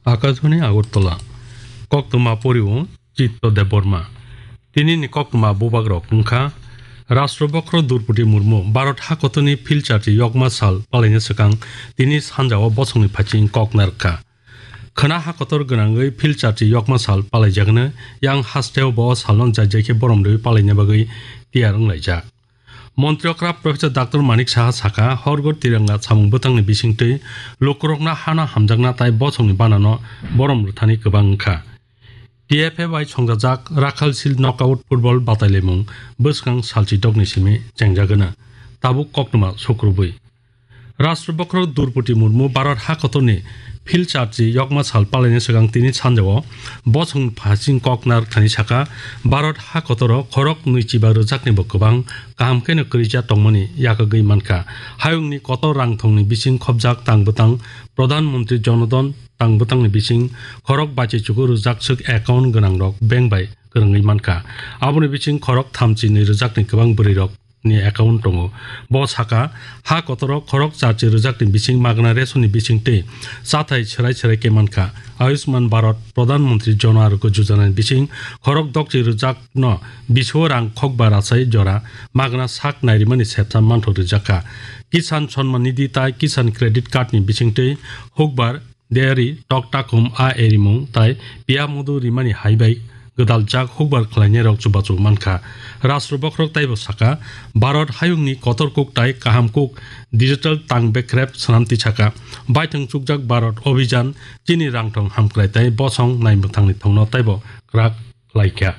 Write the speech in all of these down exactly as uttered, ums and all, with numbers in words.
Akashbani Agartala. Koktwma poriwo Chitto Debbarma. Tinini koktwma bubagrok wngkha: Rashtrabokro Droupadi Murmu Bharat hakotorni phil charchi yokma sal palaina swkang tini sanjao bosongni phaising kok narwkha. Khwna hakotor gwnangwi phil charchi yokma sal palaijagano, yang hasteo bo o salno jai jai khe borom rwui palaina bagwi tiyar wnglaijak. Montri okra Professor Doctor Manik Saha saka, horgor tiranga samung bwtangni bisingtwi lukurokno hano hamjakna tai bosongni banano borom rwthani kwbang wngkha. T F A bai songjajak Rakhal Shield Knockout Football batailaimung bwskang salchi dokni simi chengjagwna. Tabuk koktwma sukrubwi. Rashtrabokro Droupadi Murmu Bharat hakotorni phil charchi yokma sal palaina swkang tini sanjao bosong phasing kok narwkthani saka, Bharat hakotoro khorok nwichiba rwjaknibo kwbang kaham kheno kwrwija tongmani yakagwi mankha. Hayungni kotor rangthongni bising khopjak tang bwtang Pradhan Mantri Jan Dhan tang bwtangni bising khorok baichichugo rwjak swk account gwnangrok bank bai kwrwngwi mankha. Aboni bising khorok thamchi nwi rwjakni kwbang bwrwirok ni account tongo. Bo saka, ha kotoro khorok charchi rwjakni bising magna ration ni bising tei chathai serai serai khe mankha. Ayushman Bharat Pradhan Mantri Jan Arogya Yojana ni bising khorok dokchi rwjakno bisio rang khokba rachai jora magna sak nairimani sepsa manthok rwjakha. Kisan Samman Nidhi tai Kisan Credit Card ni bisingtwi hukbar dairy, tok takhum, a erimung tai piya modu rimani hai bai gwdaljak hukbar khlainairok chubachu mankha. Rashtra bokhorok taibo saka, Bharat hayungni kotor kuk tai kaham kuk digital tang bekrep swnam tisaka. Baithang chukjak Bharat Abhijan chini rangthong hamkrai tai bosong naimwthangni thongno taibo kwrak khlaikha.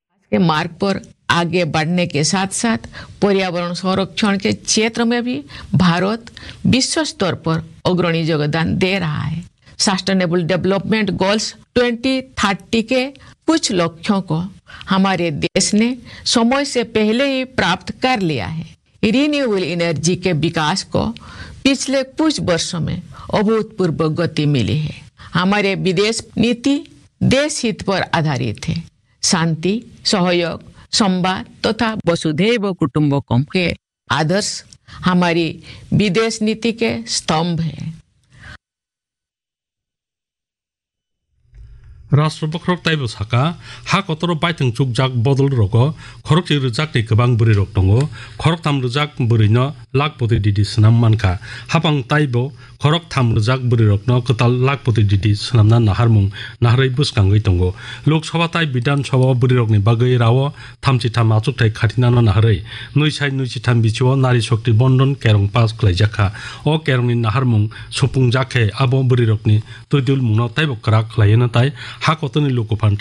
आज के मार्ग पर आगे बढ़ने के साथ साथ पर्यावरण संरक्षण के क्षेत्र में भी भारत विश्व स्तर पर अग्रणी योगदान दे रहा है। Sustainable development goals twenty thirty के कुछ लक्ष्यों को हमारे देश ने समय से पहले ही प्राप्त कर लिया है। रिन्यूएबल एनर्जी के विकास को पिछले कुछ वर्षों में अभूतपूर्व गति मिली है। हमारे विदेश नीति देश हित पर आधारित है। शांति, सहयोग, संवाद तथा वसुधैव कुटुंबकम के आदर्श हमारी विदेश नीति के स्तंभ है। Rashtra bokhorok taibo saka, ha kotoro baithang chukjak bodol rogo khorokchi rwjakni kwbang bwrwi rok tongo, khoroktham rwjak bwrwino lakhpoti didi swnam mankha. Hapang taibo khoroktham rwjak bwrwi rokno kwtal lakhpoti didi swnamna naharmung naharwi bwskangwi tongo. Lok Sabha tai Bidhan Sabha o bwrwi rokni bagwi rao thamchi tham achukthai khatinano naharwi nwi sai nwi chitham bichio Nari Shakti Bondon kerong pass khlaijakha. O kerongni naharmung supungjak khe abo bwrwirokni twidulmungno taibo kwrak khlaiyano tai ha kotorni lukuphan